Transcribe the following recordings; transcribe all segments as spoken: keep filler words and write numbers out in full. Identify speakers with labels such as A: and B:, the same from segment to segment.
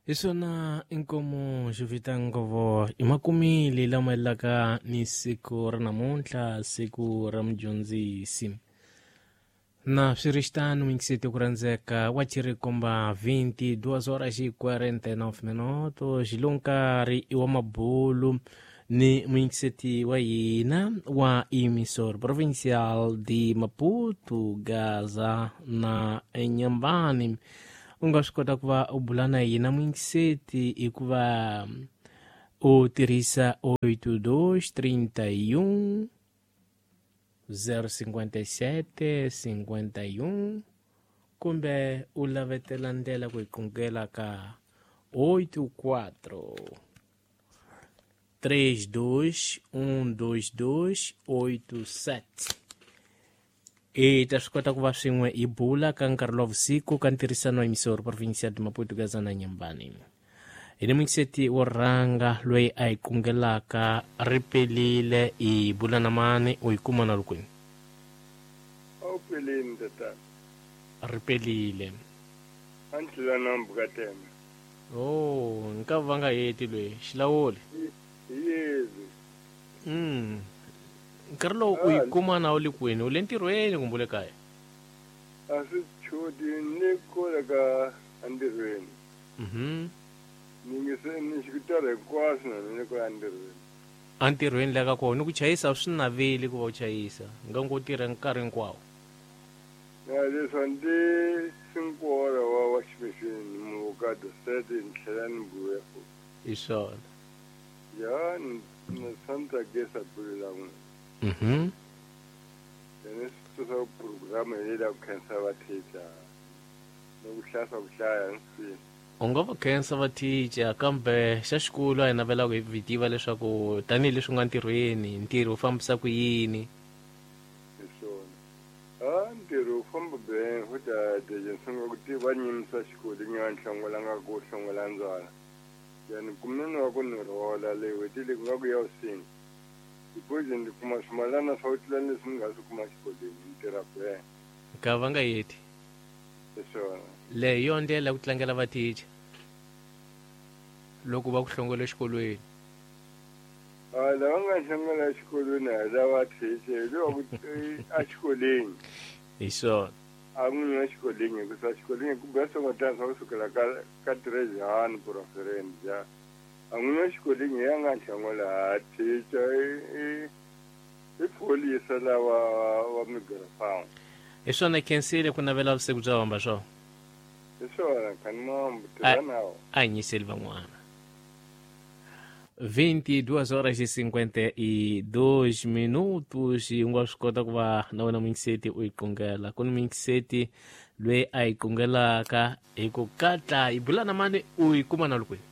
A: Hi swona inkomo xi ngovo i makumile lama yelaka ni siku ra namuntlha, siku ra mudyondzisi. Na swi ri xitano mingiseti ku rhandzeka wa chirikomba vinte e duas horas e quarenta e nove minutos xilonkarhi i wa mabulu ni muyingiseti wa hina wa emissor provincial de Maputo, Gaza na Nyambani. U nga swi kota ku va u bula na hina muyingiseti hikuva u tirhisa oito dois trinta e um zero cinquenta e sete cinquenta e um kumbe u lavetela ndlela ku hi qungela ka oito quatro três dois um dois dois oito sete. I ta swi kota ku va swin'we hi bula ka nkarhi lowa vusiku ka ntirhisano wa emissor provincial de Maputo, Gaza na Nyambani. Hi ni muyingiseti wo rhanga loyi a hi kungelaka ri pelile. Hi bula na mani, u yi kuma na lukwini?
B: A wu peleni tatana.
A: Ri pelile.
B: A ni tlula nambu ka teme.
A: Oh, nka va nga heti loyi xilawuli.
B: Hi yezi.
A: mm nkarhi lowu u yi kuma na u le kwini, u le ntirhweni kumbe u le kaya?
B: A swi chodi, ni kole ka entirhweni.
A: Mhm
B: ni nge ni xikutara hinkwaswo na ni kola entirhweni.
A: Entirhweni la ka kona ku chayisa swi naveli ku va u chayisa nga ngo tirha nkarhi hinkwawo?
B: Na leswi a ndi sinkora wa wa ximixini muvokado sete ni tlhela ni buya futhi.
A: Hi swona.
B: Ya ni ni swa ni tsakisa bulo la n'wina.
A: Mhm
B: ene swi tusa programa hi leyi ku khensa vathicha ni ku hlaya ku hlaya ni swi.
A: U nga va khensa vathicha, kambe xa xikolo a hi navelaka hi tiva leswaku tanihileswi u nga ntirhweni, ntirho wu fambisa ku yini?
B: Hi swona, a ntirho wu famba ben futhi a deje ni sungula ku tiva nyimisa xikolo ni nga ni hlongola nga ku hlongola ndzwala yani kumeni wa ku ni rhola leyi n'hweti leyi ku nga ku ya vusingi because ni kuma swimalana swa ku tlula leswi ni nga swi kuma xikolweni, ni tirha ben.
A: Ka va nga heti.
B: Hi swona.
A: Leyi hi yona ndlela ya ku tlangela vathicha loko va ku hlongola exikolweni?
B: A lava nga hlongola exikolweni a hi lava thicha, hi lowa ku exikolweni.
A: Hi swona.
B: A n'wini wa xikolweni, hikusa xikolweni ku biha swongotana swa kusukela ka ka trezhani purafference ja a n'wini wa xikolweni hi ya nga hlongola ha thicha i i i pholisa lava wa migrafamu.
A: Hi swona, khensile ku navela vusiku bya hamba swona.
B: Hi swona, khanimambu tirha nawo.
A: A hi nyiseli van'wana. vinte e duas horas e cinquenta e dois minutos. U nga swi kota ku va na wena muyingiseti u yi qungela. Ku ni muyingiseti loyi a yi qungelaka hi ku katla. Hi bula na mani, u yi kuma na lukwini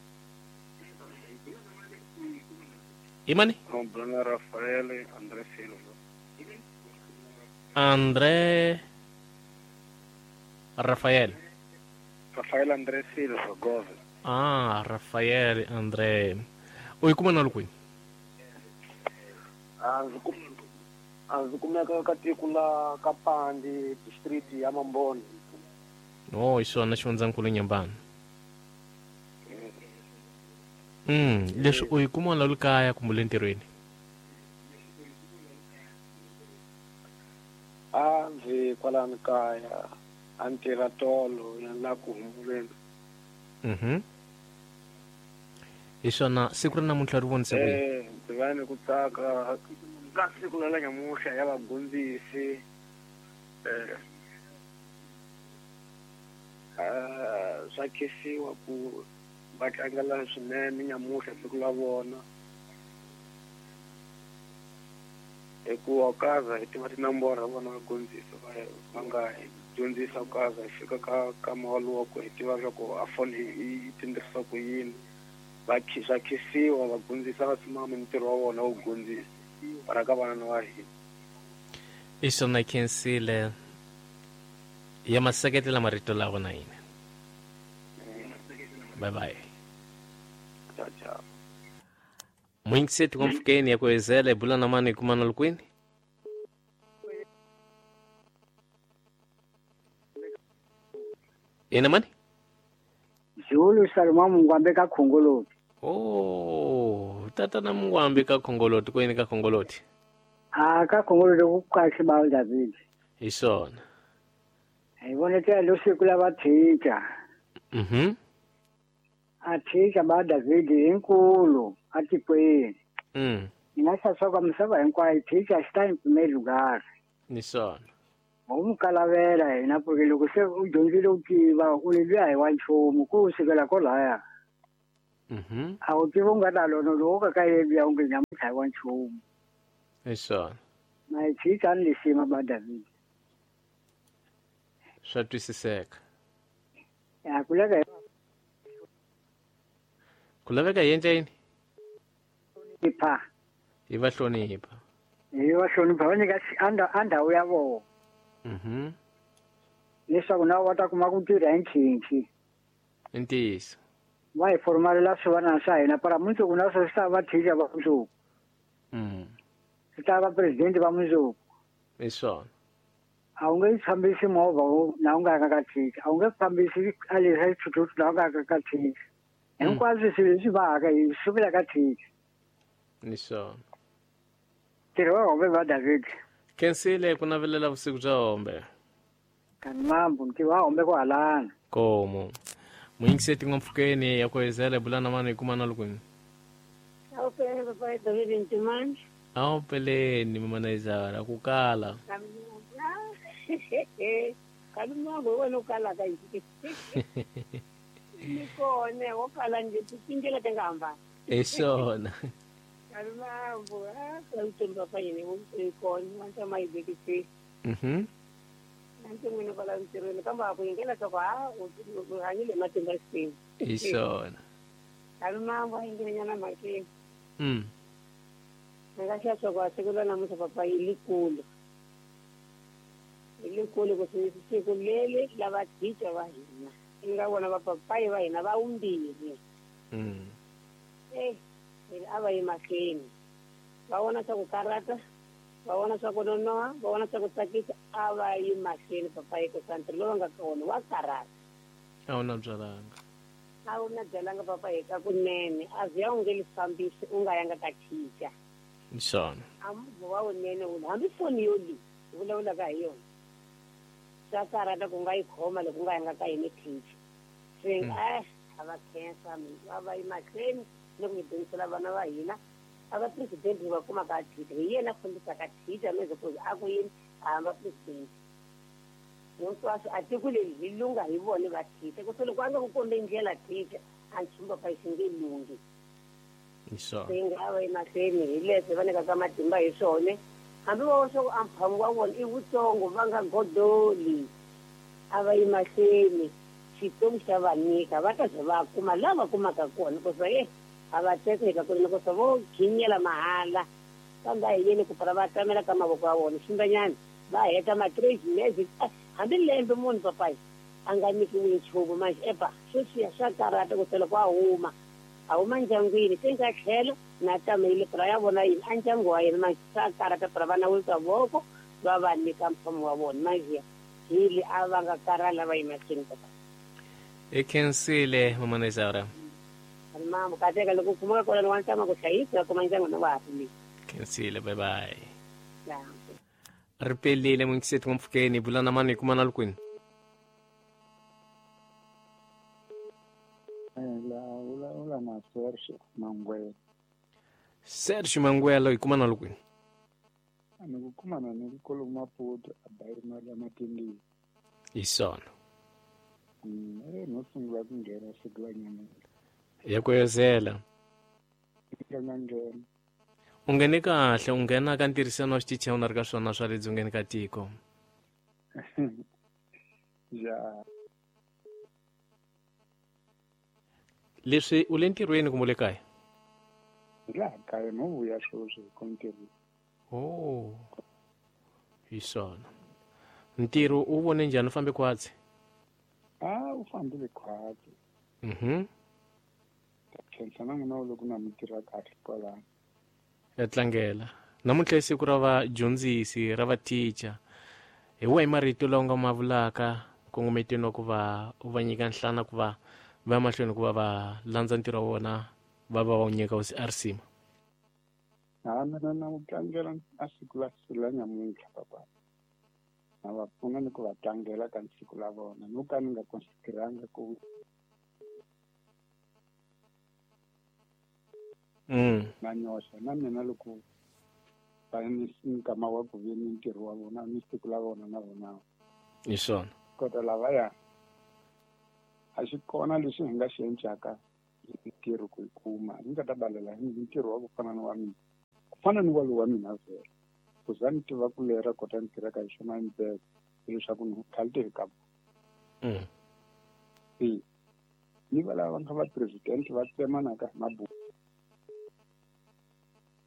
A: i mani?
C: Bula Rafael André Silva.
A: André Rafael.
C: Rafael André Silva Goves.
A: Ah, Rafael André, u yi kuma na lukwini?
C: A ndzi kum a ndzi kumeka ka tiko la Kapandi, district ya Mamboni.
A: No, hi swona, xifundzankulu Nyambani. mm leswi u yi kuma la le kaya kumbe le ntirhweni?
C: A ndzi kwalani kaya, a ni tirha tolo ya la ku humuleni.
A: Mhm hi swona, siku ra namuntlha ri vonise ku yini?
C: Eh, ndzi va ni ku tsaka ka siku la la nyamuhla ya vadyondzisi. eh eh, swa khensiwa ku va tlangela swinene nyamuhla siku la vona, hikuva kaza hi tiva tinomboro vona vadyondzisi va va nga hi dyondzisa kaza hi fika ka ka wa ku hi tiva swa ku a foni yi tirhisa ku yini. Va swa khensiwa vadyondzisi va simama ntirho wa vona wo dyondzisa para ka vana wa hina.
A: Hi swona, khensile ya maseketela marito lawa na hina. Bye bye.
C: Ciao ciao.
A: Muyingiseti wa mpfhukeni ya ku hezela, hi bula na mani, hi kuma na lukwini? Ina mani?
D: Zulu Salma Mungwambe ka Khongoloti.
A: Oh, tatana Mungwambe ka Khongoloti kwini ka Khongoloti.
D: Ah, ka Khongoloti ku kahle ba David.
A: Hi swona.
D: Hi vone tela lo siku la va teacher.
A: Mhm.
D: A teacher ba David inkulu atikweni.
A: Mm.
D: Ni nga xa misava hinkwayo teacher xi ta em primeiro lugar.
A: Ni swona.
D: U mu kalavela hina porque loko se u dyondzile u tiva u luya hi wa nchumu ku sukela kolaya.
A: Mhm.
D: A wu tivi u nga ta lona loko ka ka yeliya u nge nyamuntlha hi wa nchumu.
A: Hi swona.
D: Na hi teacher ni lisima ba David.
A: Swa twisiseka.
D: Ya ku laveka
A: ku laveka hi endla yini?
D: Hlonipha.
A: Hi va hlonipha.
D: Hi va hlonipha va nyika a ndhawu ya vona.
A: Mhm.
D: Leswaku na va ta kuma ku tirha hi nkhinkhi.
A: I ntiyiso.
D: Va hi formalela swivanana swa hina para mundzuku na swo swi ta va teacher va mundzuku.
A: Mm.
D: Swi ta va president va mundzuku.
A: Hi swona.
D: A wu nge fambisi movha na u nga yanga ka teacher, a wu nge fambisi a leswi xithuthuthu na u nga yanga ka teacher. Hinkwaswo swilo leswi vaka hi sukela ka teacher.
A: Ni swona.
D: Ntirho wa hombe va David.
A: Khensile ku navelela vusiku bya hombe.
D: Kanimambu ntirho wa hombe ku halana.
A: Komo. Muyingiseti n'wampfhukeni ya ku hezela bula na vanhu hi kuma na lukwini.
E: Awu peleni papa David Ntimani.
A: Awu peleni mama Naizara ku kala.
E: Kalimambu wena u kalaka yini? Ni kona wo kala nje tindlela ti nga hambana.
A: Hi swona.
E: Kalimambu a ku papa yini wo kona wa ntama yi bekisi.
A: Mhm.
E: Nanti n'wina kwala ntirhweni kambe a ku yingela swa ku ha u hanyile matimba Xikwembu.
A: Hi swona.
E: Kalimambu a yingele nyana mhakeni.
A: Mm.
E: Ni nga xa swa ku a siku ra namuntlha papa yi likulu. Hi likulu ku siku leri lava teacher va hina. I nga vona vapapayi va hina va vumbirhi.
A: Mm.
E: Eh, a va yi mahlweni. Va vona swa ku karata, va vona swa ku nonoha, va vona swa ku tsakisa, a va yi mahlweni papayi ku ntirho lowu nga ka wona wa karata.
A: A wu na byalanga.
E: A wu na byalanga papayi ka kunene, a ziya u nge li fambisi u nga yanga ka teacher.
A: Hi swona.
E: A movha wa wunene wu hambi foni yo leyi vulavulaka hi yona. Swa karata ku nga yi khoma loko u nga yanga ka yini teacher. Se a a va khensa a va yi mahlweni ni ku hi dyondzisela vana va hina. A va president va kuma ka teacher hi yena a fambisaka teacher loko ku a ku yini a hamba president. Hinkwaswo a tiko leri hi lunga hi vona va teacher ku se loko a nga ku kombi ndlela teacher a nchumu papa xi nge lunghi.
A: Hi swona.
E: Se nga va yi mahlweni hi leswi va nyikaka matimba hi swona. Hambi va swa ku amphamu wa vona i wutsongo va nga godoli a va yi mahlweni Xikwembu xa va nyika va ta ze va kuma laha va kumaka kona ku se a va tekeka ku ri ku se vo khinyela mahala kambe a hi yeni ku pfala va tamela ka mavoko ya vona ximbanyana va heta ma-three magic hambi lembe munhu papayi a nga nyikiwi nchumu manje epa sweswiya swa karata ku se loko a huma a huma ndyangwini se nga tlhela na tamele pura ya vona yini a ndyangu wa yena manje swa karata pura va nawisa voko va va nyika mpfumo wa vona manje hili a va nga karala va yi mahlweni papa.
A: I khensile mama Naizara.
E: Mama kateka loko kumaka kona wa ntama ku hlayisa kuma ndyangu na wa ha
A: Khensile bye bye.
E: Ya.
A: Ri pelile muyingiseti n'wampfhukeni bula na mani hi kuma na lukwini.
F: La vulavula na Sergio Mangwelo.
A: Sergio Mangwelo hi kuma na lukwini.
F: Ni ku kumana ni kolo Maputo a bayiri mali ya matindini.
A: Hi swona.
F: Mm, no sungula ku nghena siku la nyamuntlha.
A: Ya ku yozela.
F: Nga nghena.
A: U nghene kahle u nghena ka ntirhisano wa xitichi u na ri ka swona swa le dzongeni ka tiko.
F: Ya.
A: Leswi u le ntirhweni kumbe u le kaya?
F: Hi laha kaya no vuya sweswi hi ku ntirhweni.
A: Oh. Hi swona. Ntirho u vone njhani u fambe khwatsi?
F: A u fambile khwatsi.
A: Mhm.
F: Khensa na n'wina loko na mi tirha kahle kwalano.
A: Ya tlangela. Namuntlha i siku ra vadyondzisi ra va teacher. Hi wahi marito lawa u nga ma vulaka nkongometweni wa ku va u va nyika nhlana ku va Va ya mahlweni ku va va landza ntirho wa vona va va va wu nyika hosi a risima.
F: Ha mina na wu tlangela a siku la la nyamuntlha papa. Na va pfuna ni ku va tlangela ka siku la vona no ka ni nga konsideranga ku
A: mm.
F: na nyoxa na mina loko va ni nkama wa ku ve ni ntirho wa vona ni siku la vona na vona.
A: Hi swona.
F: Kota lavaya a xi kona lexi hi nga xi endlaka hi ntirho ku yi kuma ni nga ta balela hi ntirho wa ku fana ni wa mina ku fana ni wa lowu wa mina vhele ku za ni tiva ku lera kota ni tirhaka hi swona ni leswaku ni khalte hi ka
A: mm.
F: e ni va lava nga va president va tsemanaka hi mabuku.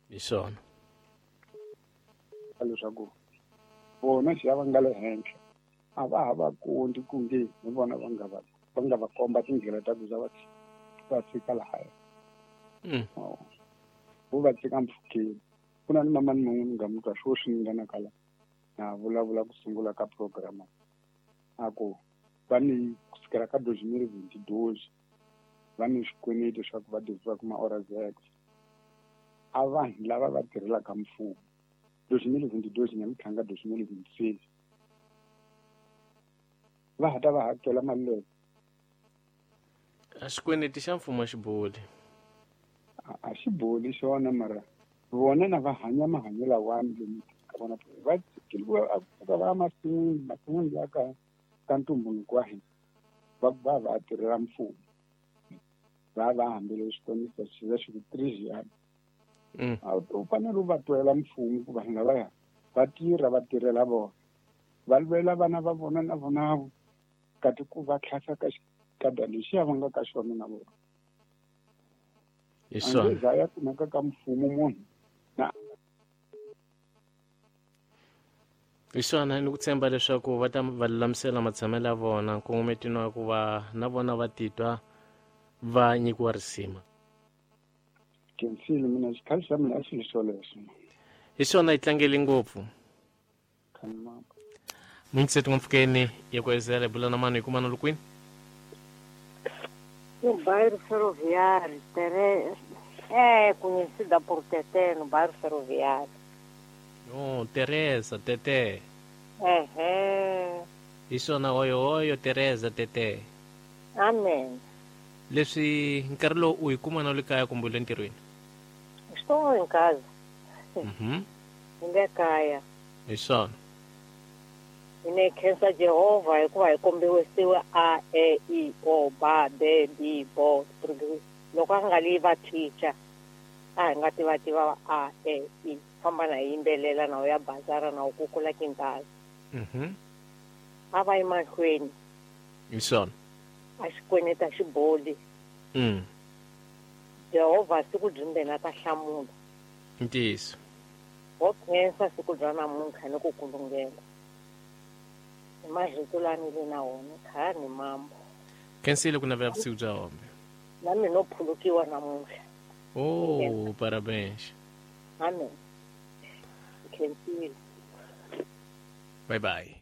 A: Hi swona.
F: Leswaku vona xi ya va nga le henhla a va ha va kondi ku nge hi vona va nga va va nga va komba tindlela ta ku za va va fika lahaya.
A: Mm.
F: Vo va tshika mpfhukeni. Ku na ni mama ni mun'we ni nga mu twa sweswi ni nga na kala na vulavula ku sungula ka program a ku va ni kusukela ka dois mil vinte e dois va ni swikweleti swa ku va deviwa ku ma-ora zex a vanhu lava va tirhelaka mfumo dois mil vinte e dois nyamuntlha nga dois mil vinte e seis va ha ta va hakela mali leyo.
A: A xikweleti xa mfumo a xi boli.
F: A xi boli xona mara vona na va hanya mahanyelo lawani lomu ka vona va tshikiliwa a pfuka va ya masin'wini masin'wini ya ka ka ntumbuluko wa hina va va va tirhela mfumo va va hambele xikombiso xi va xi ku three
A: Mm.
F: U fanele u va twela mfumo ku vanhu lavaya va tirha va tirhela vona va lwela vana va vona na vona kati ku va tlhasa ka xikada lexiya va nga ka xona na vona.
A: Hi swona.
F: A nge ya kumeka ka mfumo munhu na
A: hi swona ni ku tshemba leswaku va ta va lulamisela matshamelo ya vona nkongometino wa ku va na vona va titwa va nyikiwa risima.
F: Khensile mina xikhale xa mina a xi xolexo.
A: Hi swona hi tlangele ngopfu. Mintseti ngopfukeni ya ku ezela bula na mani hi kuma na lukwini.
E: No bairro Ferroviário, Tere... é conhecida por Tetê, no bairro Ferroviário.
A: Oh, Teresa, Tetê.
E: Ehe.
A: Isso na oyo oyo Teresa, Tetê.
E: Amém.
A: Leswi nkarhi lowu u yi kuma na le kaya kumbe le ntirhweni?
E: Estou em casa.
A: Mhm.
E: Ni le kaya.
A: Hi swona.
E: Ni khensa Jehovha hikuva hi kombiwisiwe A E I O B B B B loko a nga li va teacher a hi nga tiva tiva A E I famba na yimbelela na u ya bazara na u kukula kintazi.
A: Mhm.
E: A va yi mahlweni.
A: Hi swona.
E: A xikweleti a xi boli.
A: Mm.
E: Jehovha siku byimbeni a ta hlamula.
A: Ntiyiso.
E: Ho khensa siku bya namuntlha ni ku kulungela. Hi marito lawa ni le na wona khaya ni mambo.
A: Khensile ku navela vusiku bya hombe.
E: Na mina no phulukiwa namuntlha.
A: Oh, parabéns.
E: Amém. Khensile.
A: Bye bye.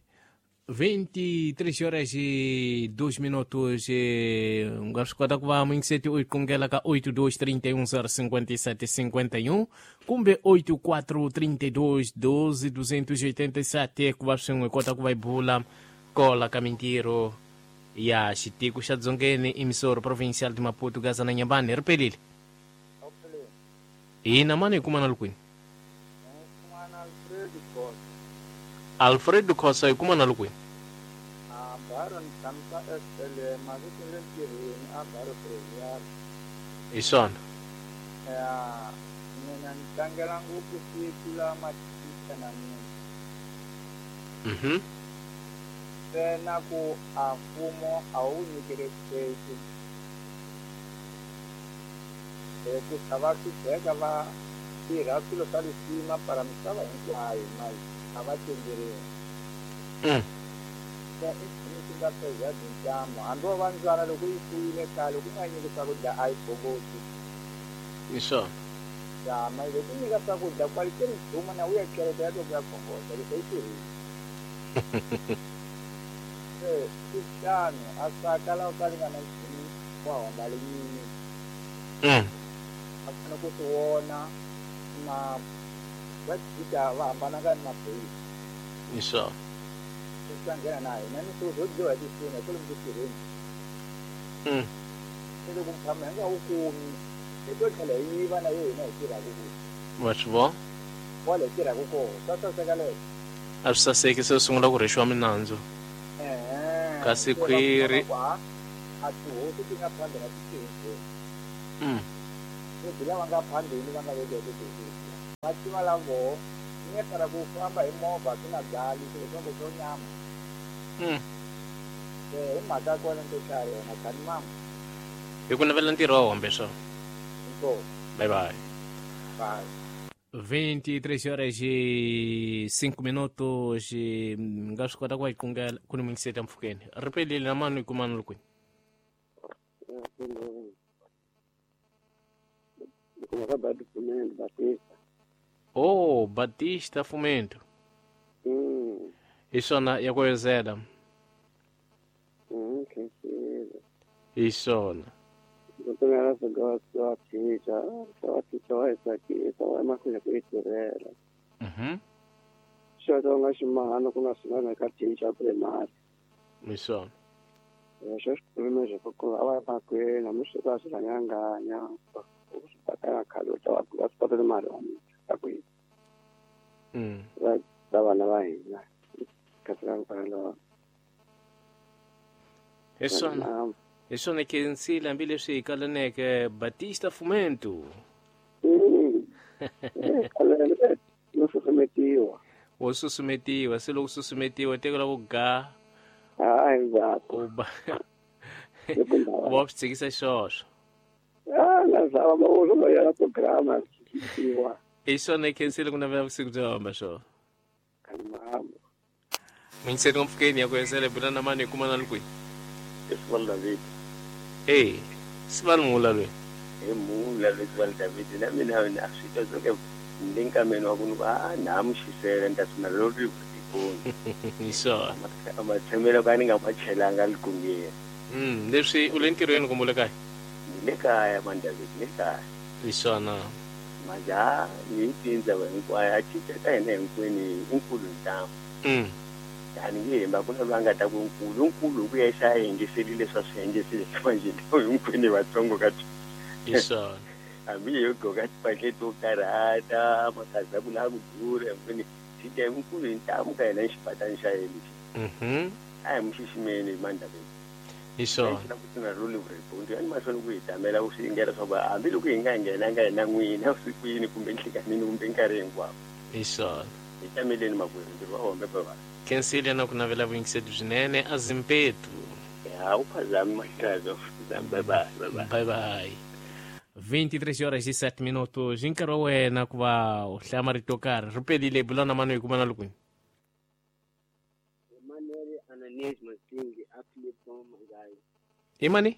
A: vinte e três horas e dois minutos. Nga swi kota ku va mingiseti u yi kongela ka oito dois três um zero cinco sete cinco um kumbe oito quatro três dois doze duzentos e oitenta e sete ku va swin'we kota ku va yi bula kola ka mintirho ya xitiko xa Dzongeni emissora provincial de Maputo Gaza na Nyambane ri pelile. Hina mani hi kuma na lukwini? Alfredo Khosa hi kuma na lukwini?
F: A bairro ni tshamisa S L M a vito le ntirhweni a bairro Ferroviário.
A: Hi swona.
F: Ya mina ni tlangela ngopfu siku la mathicha na mina.
A: Mhm.
F: Ntsena ku a mfumo a wu nyiki respect. Hikuva va hlupheka va tirha swilo swa lisima para misava hinkwayo mali a va tenderiwi.
A: Mm.
F: I nchumu xi nga pheza byi hambi wo va ndzwana loko yi fuwile khale ku nga nyiki swakudya a yi boboti.
A: Hi swona.
F: Ya mali loko u nyika swakudya kwalite ri duma na u ya kereke ya to ya khongota leswi yi tirhile. Se swi tano a swa kala u ka ri nga na nchumu
G: Wa homba lenyini.
A: Mm.
G: A fanele ku swi vona na va tshika va hambana ka maphorisa.
A: Hi swona.
G: Swi nghena na hina ni swilo swo dyiwa hi tisini hi kwalomu tirheni.
A: Mm.
G: Se loko mphama hi nga wu kumi hi to tlhela hi yiva na yo hina hi tirhaka ku.
A: Wa swi vona?
G: Kwale hi tirhaka kona swa saseka leswo.
A: A swi saseki se u sungula ku rhwexiwa minandzu. Kasi khwiri
G: a tihosi ti nga phambi na tihosi.
A: Mm.
G: Leti lava nga phambili va nga vekiwa tihosi. Va tiva lavo ni nga ku famba hi movha swi nga byali swilo swa swo nyama.
A: Mm.
G: Eh hi mhaka kona nto tlhari yona khani mama.
A: Hi ku navela ntirho wa hombe swo.
G: Inkomu.
A: Bye bye.
G: Bye.
A: vinte e três horas e cinco minutos e nga swi kota ku va hi qungela ku ni mingiseta mpfhukeni ri pelile na mani ku mani lukweni oh Batista Fumento
H: mm.
A: Hi swona ya ku yozela
H: mm,
A: hi swona
H: Mhm. Xo nga ximahana ku nga swin'wana ka teacher primary.
A: Hi swona.
H: Xo xiprimary ku a va ya mahlweni hambi swi va swi rhanganganya u swi patana khale u ta va va swi kota mali wa ta ku yi.
A: Mm.
H: Va va vana va hina kasi va kwalaho.
A: Hi swona. Hi swona khensile hambileswi hi kalaneke Batista Fumento.
H: Mm. No susumetiwa.
A: Wo susumetiwa, se loko susumetiwa teka ku ga.
H: Hayi va.
A: U ba. Wa swi tshikisa xoswo.
H: Ah, na zava ba u lo ya programa tiwa.
A: Hi swona khensile ku navela vusiku byo hamba swo.
H: Kanimamo.
A: Mingiseti mpfhukeni ya ku yesele bula na mani hi kuma na lukweni.
I: Sibali David.
A: Eh, Sibali mula lwe.
I: Eh mula lwe Sibali David na mina na swi twa zonke ndinkameni wa ku a na mushisela nta sina lori ku
A: Hi swona.
I: Amatshemelo ka ni nga ma chelanga likungeni.
A: Mm, leswi u le ntirhweni kumbe u le kaya?
I: Ni le kaya man David, ni le kaya.
A: Hi swona.
I: Manje ni tindza hinkwayo a cinca ka hina hinkwenu inkulu ntamu.
A: Mm.
I: Yani nge hemba ku na loyi a nga ta ku nkulu nkulu ku ya xa yingiserile swa swi yingiserile manje hinkwenu vatsongo ka
A: Hi swona.
I: Hambi yo gqoka tipahla to karhata makaza ku lava ku durha hinkwenu cinca nkulu hi ntamu ka hina xipatani xa yena lexi.
A: Mhm.
I: A hi mu xiximeni man David.
A: Hi swona.
I: Na ku tina role ku yani mahlweni ku hi tamela ku swi yingela swa ku hambiloko hi nga nghenanga hina n'wina vusikwini kumbe nhlikanini kumbe nkarhi hinkwawo.
A: Hi swona.
I: Hi tameleni makwerhu ntirho wa hombe bye.
A: Khensile na ku navela vuyingiseti byinene a Zimpetu.
I: Ya u phazami mahlazo. Bye bye bye bye.
A: Bye bye. vinte e três horas e sete minutos. Nkarhi wa wena ku va u hlaya marito yo karhi. Ri pelile bula na mani hi kuma na lukweni.
H: Emmanuel Ananias Masingi a Philipo Mangayi.
A: I mani?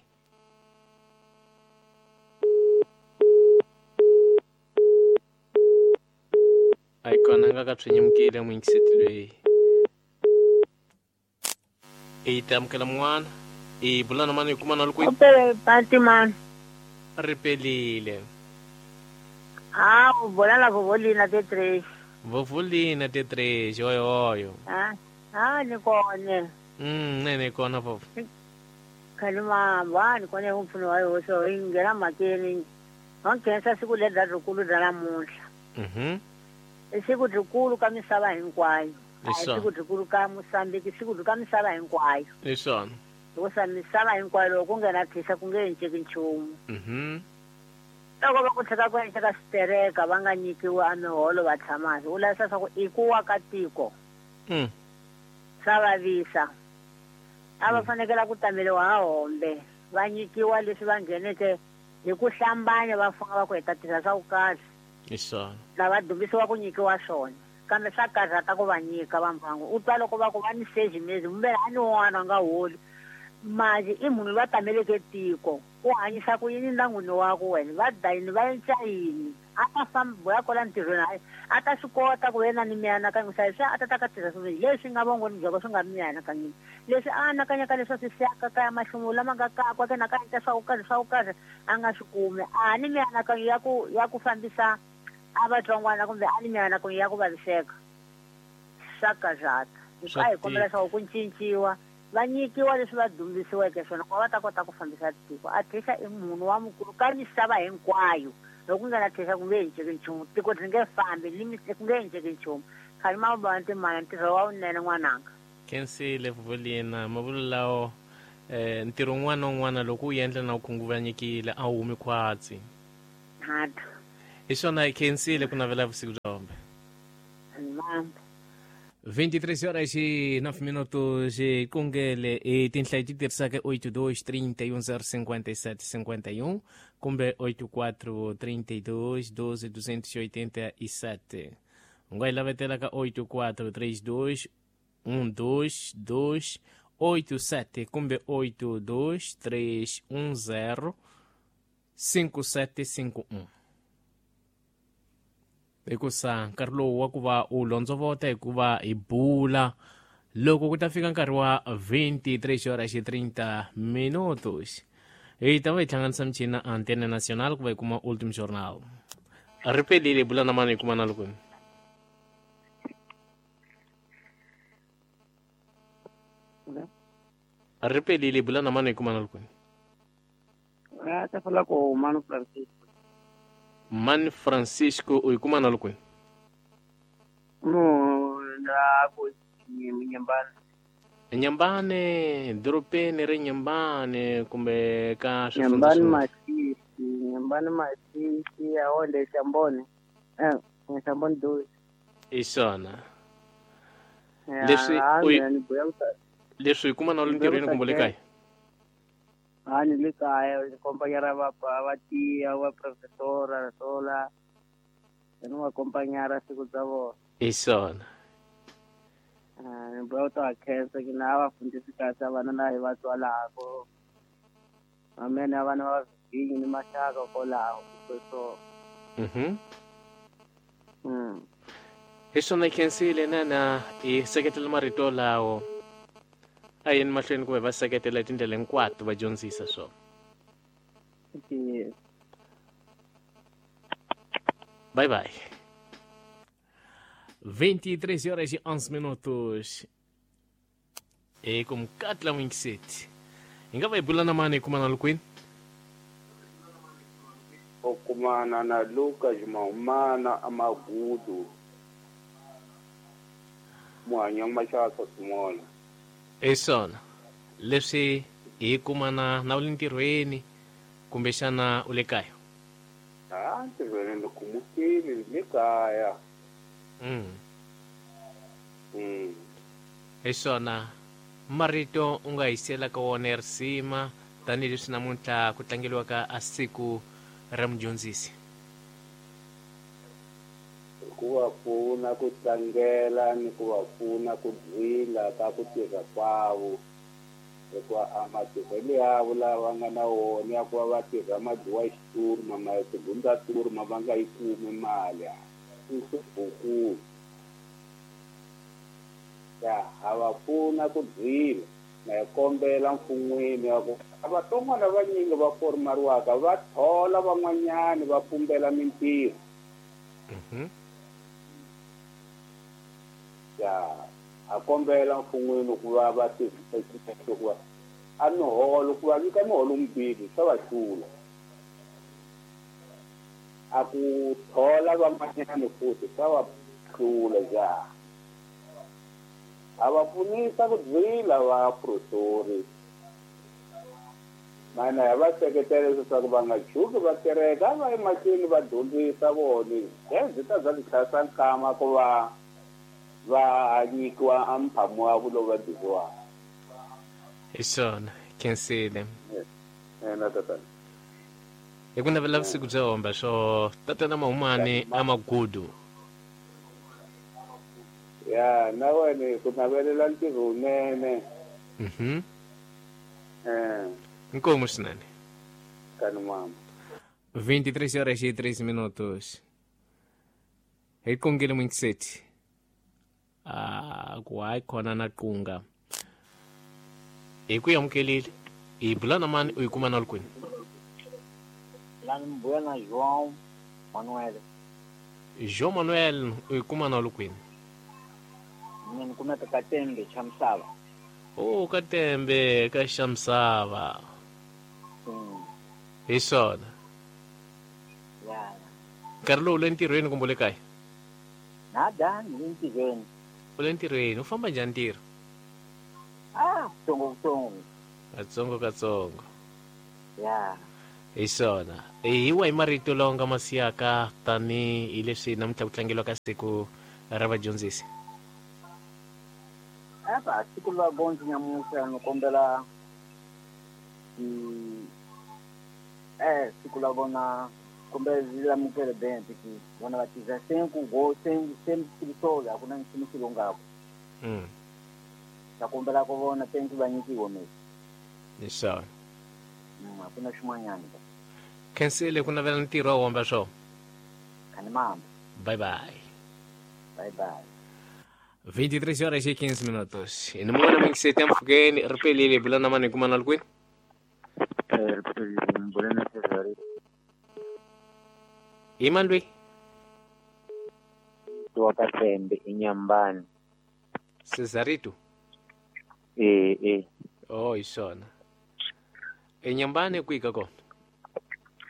A: A yi kona nga ka swi nyimukile muyingiseti loyi. I ta amukela mun'wana. I bula na mani hi kuma na lukweni.
E: Upele pati mani.
A: Ri pelile.
E: Ah, u bula la vovolina te três.
A: Vovolina te três, oyo oyo.
E: Ah, ah ni kona.
A: Mm, nene kona vovo.
E: Kalima ba ni kona umpfuno wa yo so ingena makeni. Va nkhensa siku leri ra rikulu ra namuntlha.
A: Mhm.
E: I siku rikulu ka misava hinkwayo. A hi siku rikulu ka Mozambique, siku ka misava hinkwayo.
A: Hi swona.
E: Hikusa misava hinkwayo loko ku nghena thisa ku nge enceki nchumu.
A: Mhm.
E: Loko va ku tlheka ku enceka switereka va nga nyikiwi a miholo va tshama hansi u lavisa swa ku i ku wa ka tiko.
A: Mm.
E: Swa vavisa. A va fanekela ku tameliwa ha hombe va nyikiwa leswi va ngheneke hi ku hlambanya va funga va ku heta tirha swa ku kahle.
A: Hi swona.
E: Lava dumbisiwa ku nyikiwa swona kambe swa karhata ku va nyika va mbangu u twa loko va ku va ni sejimezi mbe a ni un'wana a nga holi manje i munhu loyi a tameleke tiko u hanyisa ku yini ndyangwini wa ku wena va dayini va endla yini A ta famba ya kwala ntirhweni hayi a ta swi kota ku yena ni mianakanyo hlayisa a ta ta ka tirha swilo leswi nga vongoni byakwe swi nga mianakanyweni leswi a anakanyaka leswi swi siyaka kaya mahlomulo lama nga kakwa ke na ka endla swa ku karhi swa ku karhi a nga swi kumi a ni mianakanyo ya ku ya ku fambisa a vatsongwana kumbe a ni mianakanyo ya ku vaviseka swa karhata
A: Swa
E: a hi kombela
A: tika.
E: leswaku ku cinciwa va nyikiwa leswi va dyondzisiweke swona ku va va ta kota ku fambisa tiko a thisha i munhu wa mukulu ka misava hinkwayo loko ku nga na thisha ku nge cinceki nchumu tiko ri nge fambi ni mi- ku nge cinceki nchumu khale mavona timana ntirho wa wunene n'wananga
A: khensile vuvolina mavulu lawo eh ntirho wun'wana na wun'wana loko wu endla na u khunguvanyekile a wu humi khwatsi
E: hata
A: hi swona hi khensile ku navela vusiku bya hombe
E: mamba
A: vinte e três horas e nove minutos e kungele e tinhlayo ti tirhisaka oito dois trinta e um zero cinquenta e sete cinquenta e um kumbe oito quatro trinta e dois doze duzentos e oitenta e sete u nga yi lavetela ka oito quatro três dois um dois dois oito sete kumbe oito dois três um zero cinco sete cinco um hikusa nkarhi lowu wa ku va u londzovota hikuva hi bula loko ku ta fika nkarhi wa vinte e três horas e trinta minutos hi ta va hi hlanganisa michini na Antena Nacional ku va hi kuma Último Jornal ri pelile hi bula na mani hi kuma na loko ri pelile hi bula na mani hi kuma na loko
H: Ah, ta fala com o Mano Francisco.
A: Mani Francisco u hi kuma na loko
H: No, na ko Nyambane.
A: Nyambane dorobeni ri Nyambane kumbe ka swifundza
H: Nyambane
A: swin'wana
H: Masisi, Nyambane Masisi, aonde Shambone. Eh, Shambone dois.
A: hi swona
H: Eh,
A: Leswi
H: ah,
A: u yi-
H: mina ni buya ku
A: leswi hi kuma na
H: Ni
A: le ntirhweni
H: buya
A: kumbe le
H: ku
A: kaya
H: Ah, ni le kaya, ni companhera va va tia, va professora, sola. Ni va companhera siku bya vona.
A: hi swona
H: Ah, ni buya ku ta va khensa ki na va fundisi kahle vana la hi va tswalako. Amene vana va vinyi ni maxaka kwalaho so.
A: Mhm.
H: Mm.
A: Hi swona hi khensile nana hi seketela marito lawo a yeni mahlweni kumbe va seketela hi tindlela hinkwato va dyondzisa swona
H: Yes.
A: Bye bye. vinte e três horas e onze minutos. E com Katla Winkset. Hi nga va hi bula na mani hi kuma na lukwini?
J: U kumana na Lucas Mahumana Amagudu Muhanya Mashaka Simola.
A: Hi swona. Leswi hi kumana na u le ntirhweni kumbexana u le kaya.
J: Ah, ntirhweni ni kumukile le kaya.
A: Mm.
J: Mm.
A: Hi swona. Marito u nga hisela ka wona ya risima tanihileswi namuntlha ku tlangeliwaka a siku ra mudyondzisi.
J: Ku va pfuna ku tlangela ni ku va pfuna ku dzila ka ku tirha kwavo. Hikuva a matirhelo yavo lava nga na wona ya ku va va tirha madluwa xiturma ma tigundza turma va nga yi kumi mali i swibukulu. Ya ha va pfuna ku dzila na hi kombela mfun'wini ya ku a vatsongwana vanyingi va formariwaka va thola van'wanyani va pumbela mintirho.
A: Mhm.
J: Ya a kombela mfun'wini ku va va tirhisa xiphiqo ku va a miholo ku va nyika miholo mbirhi swa va hlula. A ku thola van'wanyani futhi swa va hlula ja. A va pfunisa ku dzila va prosori. Mana ya va seketela leswaku va nga tshuki va tereka va emahlweni va dyondzisa vona. Byi ta bya titlhasa nkama ku va va nyikiwa a mphamo wa lowu va biziwaka.
A: Hi swona, khensile.
J: Eh, na tatana.
A: Hi ku navela vusiku byo homba swo tatana Mahumani Amagudu.
J: Ya, na wena ku navelela ntirho wunene.
A: Mhm.
J: Eh.
A: Inkomu swinene.
J: Kani mama.
A: vinte e três horas e treze minutos. Hi kongele mwingiseti. Ah, ku hayi khona na qunga. Hi ku amukelile. Hi bula na mani u yi kuma na le kwini?
G: La ni bula na João Manuel.
A: João Manuel u yi kuma na le kwini?
G: Mina ni kumeka ka Tembe xa Misava.
A: Oh, ka Tembe ka xa Misava.
G: Mm.
A: Hi swona.
G: Ya.
A: Nkarhi lowu u le ntirhweni kumbe u le kaya?
G: Nada, ni le ntirhweni.
A: U le ntirhweni, u famba njhani ntirho?
G: Ah, tsongo tsongo.
A: Katsongo katsongo.
G: Ya.
A: Hi swona. Hi wahi marito lawa nga ma siyaka tanihi leswi namuntlha ku tlangeriwa ka siku ra vadyondzisi?
G: Apa siku la vadyondzi nyamuntlha ni kombela i eh siku la vona kumbe lamukele bente ki vona va tiza cinco go sem sem solo a ku na nchumu xi longako.
A: Mm.
G: Ta kombela ku vona tenki va nyikiwa mesi.
A: Hi swona.
G: Mm, a ku na xin'wanyana.
A: Khensile ku navela ntirho wa homba swo.
G: Khani mamba.
A: Bye bye.
G: Bye bye.
A: vinte e três horas e quinze minutos. E numa hora mwingiseti ampfukeni ri pelile bula na mani kuma na le kwini?
K: Eh, bula na Cesare.
A: I mani loyi?
K: Wa ka Tembe eNyambani.
A: Cesarito?
K: Eh, eh.
A: Oh, hi swona. Enyambani kwihi ka kona?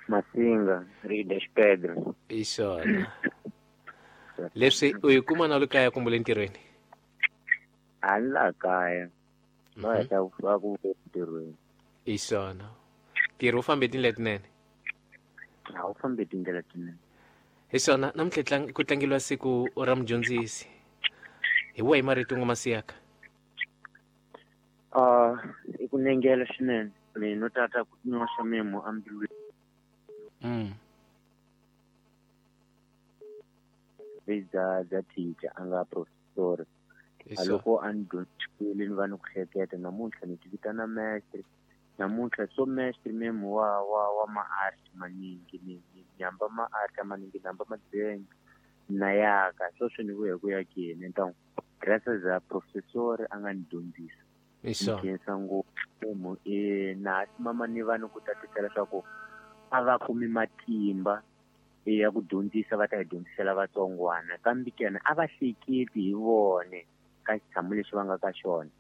K: Masinga, Rio das Pedras.
A: Hi swona. Leswi u yi kuma na le kaya kumbe le ntirhweni?
K: A ni laha kaya. Va heta va ku ntirhweni.
A: Hi swona. Ntirho wu fambe tindlela tinene?
K: A wu fambi tindlela tinene.
A: Hi swona, namuntlha ku tlangeriwa siku ra mudyondzisi. Hi wahi marito nga ma siyaka?
K: Ah, i ku nengela swinene. Mina no tata ku nyoxa memo embilwini.
A: Mm.
K: Bya bya teacher a nga professor. A loko a ni dyondzisile ni va ni ku hleketa namuntlha ni ti vitana mestre. Namuntlha so mestre memo wa wa wa ma-art maningi ni ni hamba ma-art maningi ni hamba madzenga na yaka sweswi ni vuye ku yakeni então graças a professor a nga ni dyondzisa.
A: Hi swona.
K: Ni khensa ngopfu e na mama ni va ni ku tatisela leswaku a va kumi matimba ya ku dyondzisa va ta hi dyondzisela vatsongwana kambe kena a va hleketi hi vone ka xitshamo lexi va nga ka xona.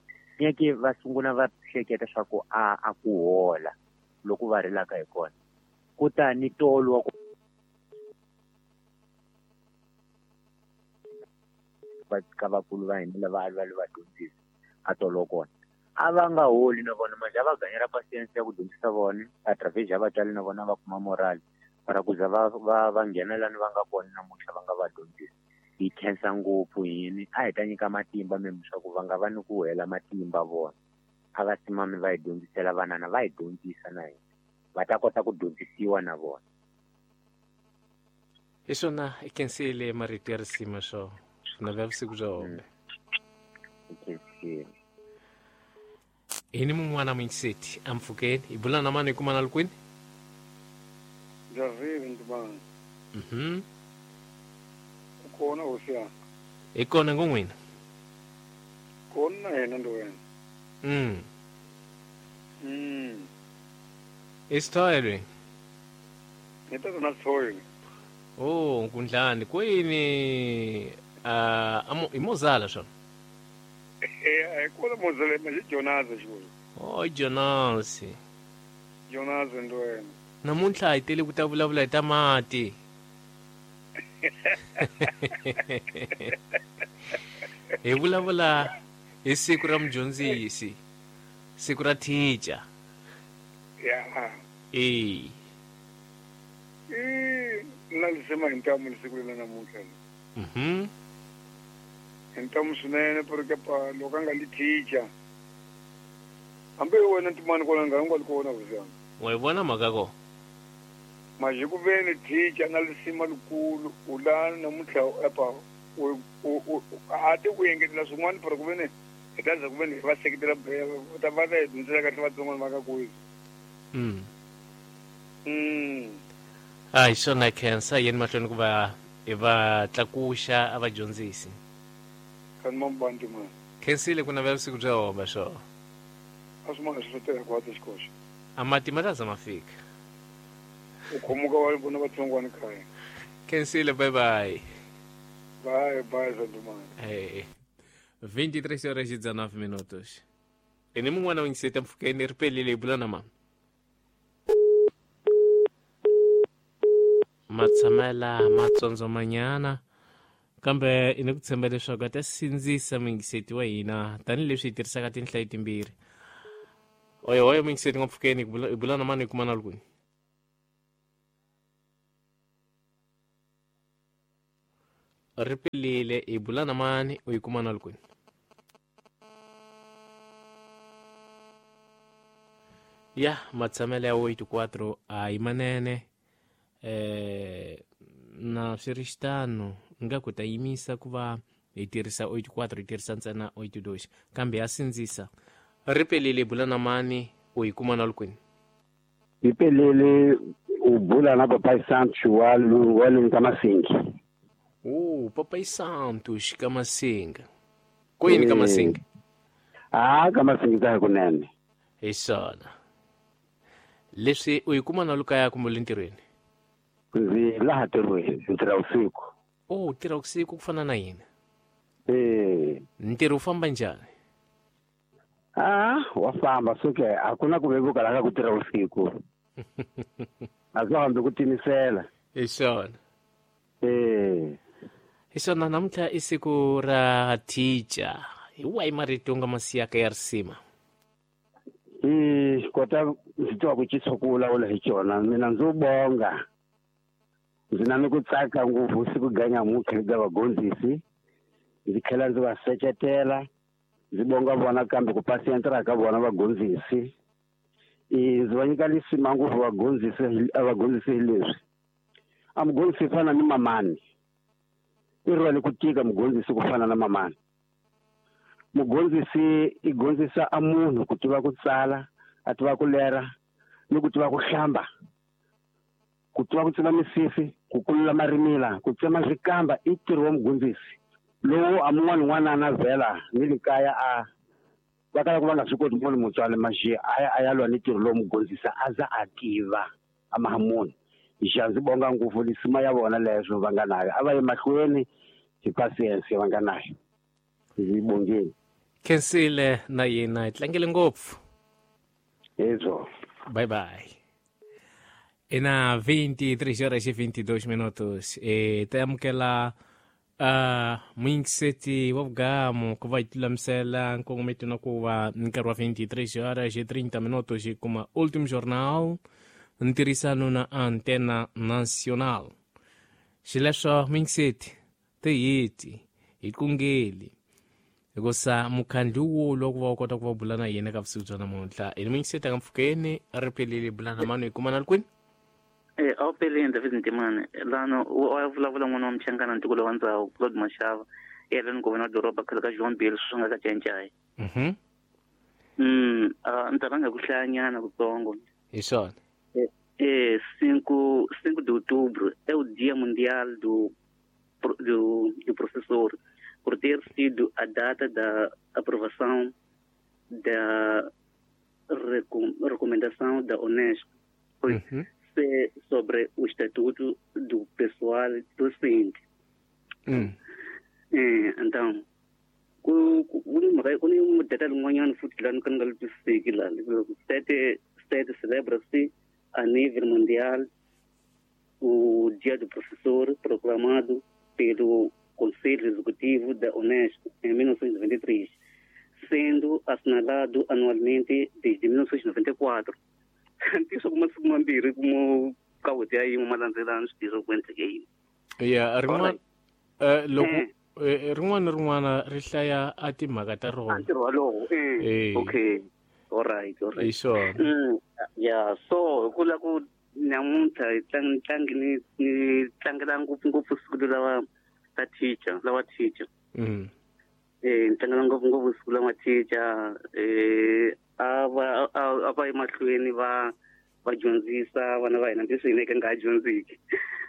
K: Nyeke va sungula va hleketa swa ku a a ku hola loko va rilaka hi kona. Kutani tolo wa ku va ka vakulu va hina lava va va dyondzisa a tolo kona. A va nga holi na vona manje a va ganyela patience ya ku dyondzisa vona através ya vatswari na vona va kuma moral para ku za va va va nghena lani va nga kona namuntlha va nga va dyondzisa. Hi khensa ngopfu yini a hi ta nyika matimba memo swa ku va nga va ni ku hela matimba vona. A va simami va hi dyondzisela vanana va hi dyondzisa na hina va ta kota ku dyondzisiwa na vona.
A: Hi swona i khensile marito ya risima swo navela vusiku bya hombe.
K: Hi khensile.
A: Hi ni mun'wana mwingiseti ampfukeni hi bula na mani hi kuma na le kwini?
B: Javile Ntimani.
A: Mhm.
B: Kona hosi yanga.
A: Hi kona ngo n'wina?
B: Kona na yena ndo wena.
A: Mm.
B: Mm.
A: I sithole?
B: Ni tata na sithole.
A: Oh, nkundlani kwini ah uh, i mozala swona?
B: Eh, kona mozala ma Jonas xivulu.
A: Oh, Jonas.
B: Jonas ndo wena.
A: Namuntlha hi tele ku ta vulavula hi ta mati. Hi vulavula hi siku ra mudyondzisi, siku ra teacher.
B: Ya.
A: Eh.
B: Eh, na lisema hi ntamu siku lela namuntlha.
A: Mhm.
B: Hi ntamu swinene porque pa loko a nga li teacher. Hambi wena Ntimani kona nga nga li kona vuzana.
A: Wa yi vona mhaka ko?
B: Manje ku ve ni teacher na lisima likulu u la namuntlha apa u u a ti ku engetela swin'wana pero ku ve ni hi ta za ku ve ni va seketela ta va ta hi dyondzela kahle vatsongwana va ka kwihi.
A: Mm.
B: Mm.
A: A hi swona khensa yeni mahlweni ku va hi va tlakuxa a va dyondzisi.
B: Kan mambandi man.
A: Khensile ku navela vusiku bya homa swo.
B: A swi ma swi teka ku hatla xikoxo.
A: A mati ma ta za ma fika.
B: U khomuka wa vona vatsongwana kaya.
A: Khensile, bye bye.
B: Bye bye Zandumani.
A: Hey. vinte e três horas e dezenove minutos. E nem mun'wana wa yingiseta mpfhukeni ri pelile hi bula na mama. Matshamela matsondzomanyana kambe i ni ku tshemba leswaku a ta sindzisa muyingiseti wa hina tanihileswi hi tirhisaka tinhlayo timbirhi. Oyo oyo muyingiseti nga mpfhukeni hi bula na mani hi kuma na kwini. Ri pelile hi bula na mani u yi kuma na kwini. Ya matshamela ya oito quatro a hi manene. Eh, na swi ri xitano nga ku ta yimisa ku va hi tirhisa oito quatro hi tirhisa ntsena oito dois kambe ya sindzisa. Ri pelile bula na mani u yi kuma na kwini.
L: Hi pelele u bula na Papai Santos wa wa le ka Masinga.
A: Oh, Papai Santos ka Masinga. Kwini ka Masinga?
L: Ah, ka Masinga ta kunene.
A: Hi swona. Leswi u yi kuma na lukaya kumbe le ntirhweni?
L: Ndzi laha ntirhweni, ndzi tirha vusiku.
A: Oh, u tirha vusiku ku fana na hina?
L: Eh.
A: Ntirho wu famba njhani?
L: Ah, wa famba suke a ku na ku vevuka laha ku tirha vusiku. A swi hambi ku timisela.
A: Hi swona.
L: Eh.
A: Hi swona namuntlha i siku ra teacher. Hi wahi marito u nga ma siyaka ya risima?
L: I kota ndzi twa ku cisa ku vulavula hi xona mina ndzo bonga. Ndzi na ni ku tsaka ngopfu siku ganya mutlhe ka vagondzisi. Ndzi tlhela ndzi va seketela. Ndzi bonga vona kambe ku pasientra ka vona vagondzisi. I ndzi va nyika lisima ngopfu vagondzisi a vagondzisi hi leswi. A mugondzisi fana ni mamani. I rhwale ku tika mugondzisi ku fana na mamani. Mugondzisi i gondzisa a munhu ku tiva ku tsala, a tiva ku lera, ni ku tiva ku hlamba. Ku tiva ku tsema misisi, ku kulula marimila, ku tsema swikamba i ntirho wa mugondzisi. Lowu a mun'wana n'wana na vhela ni le kaya a va kala ku va nga swi koti munhu mutswari maxiya a ya a ya lwa ni ntirho lowu mugondzisi a za a tiva a maha munhu. Xa ndzi bonga ngopfu lisima ya vona leswo va nga nayo. A va ye mahlweni hi patience va nga nayo. Ndzi bongeni.
A: Khensile na yena hi tlangele ngopfu.
L: Hezwo.
A: Bye bye. Ina vinte e três horas e vinte e dois minutos. E ta amukela uh, muyingiseti wa vugamu ku va hi lulamisela nkongometo na ku va nkarhi wa vinte e três horas e trinta minutos hi kuma Último Jornal ntirhisano na Antena Nacional. Xileswo muyingiseti tiheti hi kungeli hikusa mukhandlu wo loko va kota ku va bula na yena ka vusiku bya namuntlha. I muyingiseti nga mpfhukeni ri pelile bula na mani hi kuma na kwini.
H: Eh, a wu pelile David Ntimane lano wa vulavula n'wana wa Mchangana ntiko wa ndzhawu Claude Mashava yena ni governor doroba khale ka John Bill swi nga ka Tshentshai.
A: Mhm.
H: Mm, ah ndzi rhanga ku hlayanyana kutsongo.
A: Hi swona.
H: Eh, cinco cinco de outubro é o Dia Mundial do do do Professor, por ter sido a data da aprovação da recom, recomendação da Unesco.
A: Uhum.
H: Sobre o Estatuto do Pessoal Docente.
A: Hum.
H: É, então, ku ku data lin'wanyana futhi lani ka ni nga li twisiseki la sete sete celebra-se a nível mundial o Dia do Professor proclamado pelo Conselho Executivo da Unesco em mil novecentos e noventa e três, sendo assinalado anualmente desde mil novecentos e noventa e quatro. Ntiso kuma siku mambirhi kuma ka ya yin'we malandzelano swi tirha ku endleke yini.
A: Ya rin'wana eh loko rin'wana rin'wana ri hlaya a timhaka ta rona.
H: Ntirho walowo eh okay all right all right.
A: Hi swona.
H: Ya so hi ku la ku namuntlha hi tlangi tlangi ni ni tlangela ngopfungopfu siku lawa ta teacher lawa teacher.
A: Mm.
H: Eh ni tlangela ngopfungopfu siku lawa teacher eh a va a va emahlweni va Va dyondzisa vana va hina hambileswi hina hi ka nga ha dyondziki.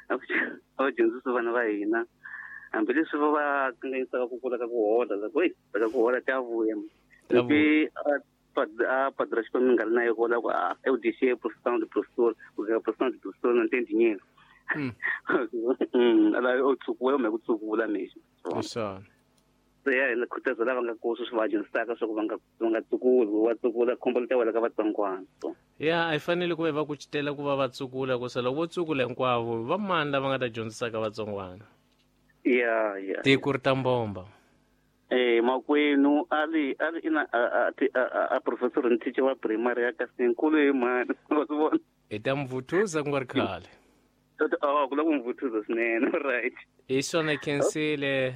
H: A va dyondzisa vana va hina hambileswi va va kanganyisaka ku kula ka ku hola la ku hey ka ku hola ta vuya. Loko a padre xikolo mi nga ri na yo kola ku a eu deixei profissão de professor, porque a profissão de professor não tem dinheiro. Mm. Ala o tsukula me ku tsukula mesmo.
A: Swona.
H: Se ya hina khutaza lava nga koso swi va dyondzisaka swa ku va nga va nga tsukuli, va tsukula khombo li ta wela ka vatsongwana. So
A: ya a yi fanele ku va va kucetela ku va va tsukula ku se loko vo tsukula hinkwavo va mani lava nga ta dyondzisaka vatsongwana.
H: Ya ya.
A: Tiko ri ta mbomba.
H: Eh makwenu ali ali ina a a professor ni teacher wa primary ya Kasinkulu hi mani wa swi vona.
A: Hi ta mvuthuza ku nga ri khale.
H: Oh, ku la ku mvuthuza swinene, right.
A: Hi swona khensile.